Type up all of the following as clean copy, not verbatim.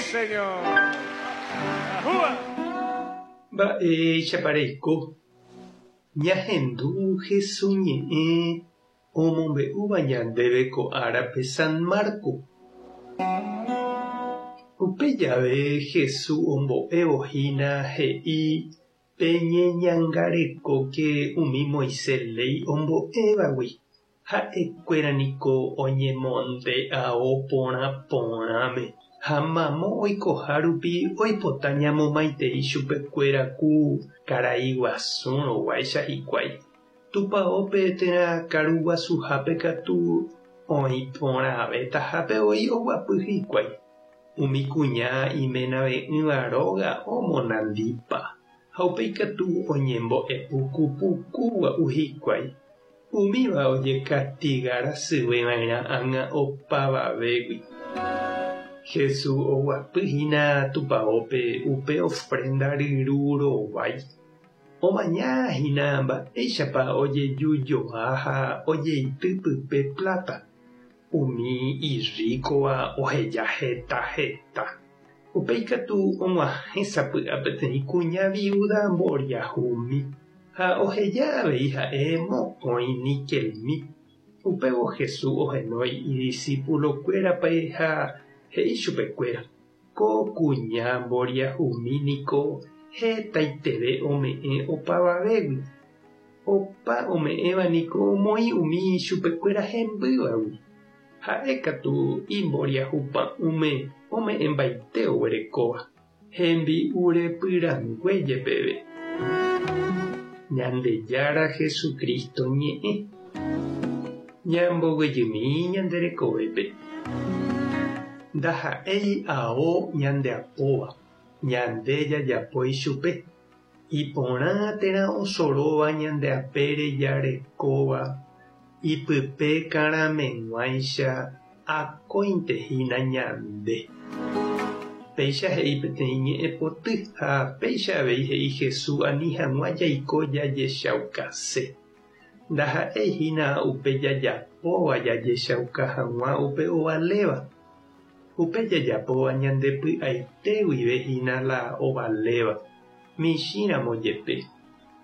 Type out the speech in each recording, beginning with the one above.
señor! ¡Ajúa! Mba'éichapa reiko? Ñahendu Hesu ñe'ẽ omombe'úva ñandéve ko árape San Marco. Upe jave Hesu ombo'évo hína he'i Peñeñangarekóke umi Moisés léi ombo'évagui, ha'ekuéra niko oñemonde ao porã porãme, ha mamo oikoha rupi oipota ñamomaitei chupekuéra ku karai guasúrõ guáicha hikuái. Tupaópe térã karu guasuhápe katu oĩ porãvetahápe voi oguapy hikuái. Umi kuña imenave'ỹva róga omonandipa, ha upéi katu oñembo'e puku puku gua'u hikuái. Umíva ojekastiga rasyve va'erã ág̃a opavavégui. Jesús oguapy hína tupaópe upe ofrénda ryru rovái. Omaña hína mba'éichapa ojejujoa ha ojeity pype pláta. Umi irríkova oheja heta heta. Upéi katu og̃uahẽ sapy'a peteĩ kuña viúda mboriahumi, ha oheja avei ha'e mokõi nikelmi. Upévo Jesús ohenói idisipulokuérape ha he'i chupekuéra, Ko kuña mboriahumi niko hetaiteve ome'ẽ opavavégui. Opa ome'ẽva niko omoĩ umi ichupekuéra hembývagui. Ha'e katu imboriahu pa'ũme ome'ẽmbaite oguerekóva, hembi'u repyrangue jepeve. Ñandejára Jesucristo ñe'ẽ. Ñamboguejymi ñande rekovépe. Ndaha'éi ao ñandeapóva, ñande jajapo ichupe. Iporã térã osoróva ñande apére jarekóva, ipype karameg̃uáicha akóinte hína ñande. Péicha he'i peteĩ ñe'ẽpoty ha péicha avei he'i Jesús ani hag̃ua jaiko jajechaukase. Ndaha'éi hína upe jajapóva jajechauka hag̃ua upe ovaléva. Upe jajapóva ñande py'aite guive hína la ovaléva, michĩramo jepe.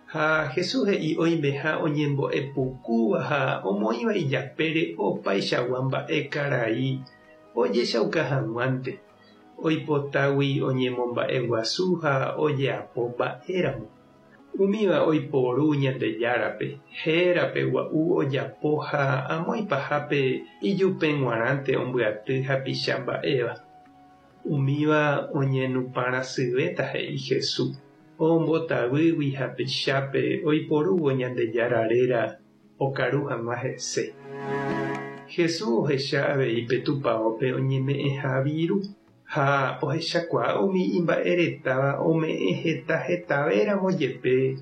Ha Jesús he'i oimeha oñembo'e pukúva ha omoĩva ijapére opaichagua mba'e karai ojechauka hag̃uánte, oipotágui oñemomba'eguasu ha ojeapo mba'éramo. Umíva oiporu Ñandejárape, hérape gua'u ojapo ha amo ipahápe ijupe g̃uarãnte ombyaty hapicha mba'éva. Umíva oñenupã rasyvéta he'i Jesús, ombotavýgui hapichápe oiporúvo Ñandejára réra okaru hag̃ua hese. Jesús ohecha avei pe tupaópe oñeme'ẽha viru. Ha ohechakuaa umi imba'eretáva ome'ẽ heta hetavéramo jepe,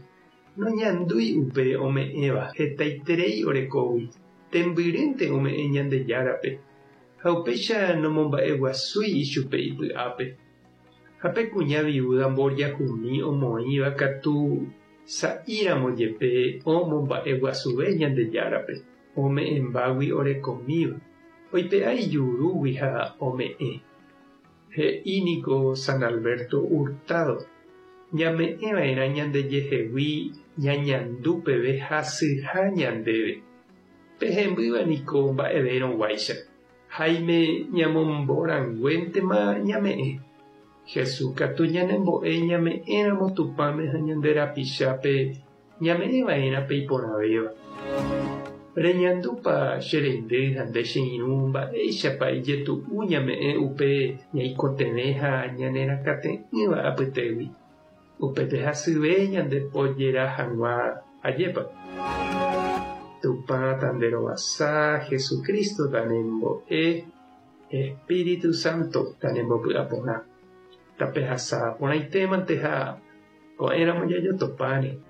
noñandúi upe ome'ẽva hetaiterei orekógui, tembyrýnte ome'ẽ Ñandejárape, ha upéicha nomomba'eguasúi ichupe ipy'ápe. Ha pe kuña viúda mboriahumi omoĩva katu sa'íramo jepe omomba'eguasuve Ñandejárape, ome'ẽmbágui orekomíva. Oipe'a ijurúgui ha ome'ẽ. He'i niko San Alberto Hurtado, Ñame'ẽva'erã ñandejehegui ñañandu peve hasyha ñandéve. Pe hembýva niko mba'evérõ guáicha. Háime ñamomboranguéntema ñame'ẽ. Jesús katu ñanembo'e ñame'ẽramo Tupãme ha ñande rapichápe Ñame'ẽ va'erã pe iporãvéva. Reñandúpa che reindy ha nde che irũ mba'éichapa ijetu'u ñame'ẽ upe ñaikotevẽ ha ñanerakate'ỹva apytégui? Upépe hasyve ñande pojera hag̃ua, ajépa? Tupã tanderovasa, Jesucristo tanembo'e, Espíritu Santo tanembopy'aporã. Tapehasa porãitémante ha ko'ẽramo jajotopáne.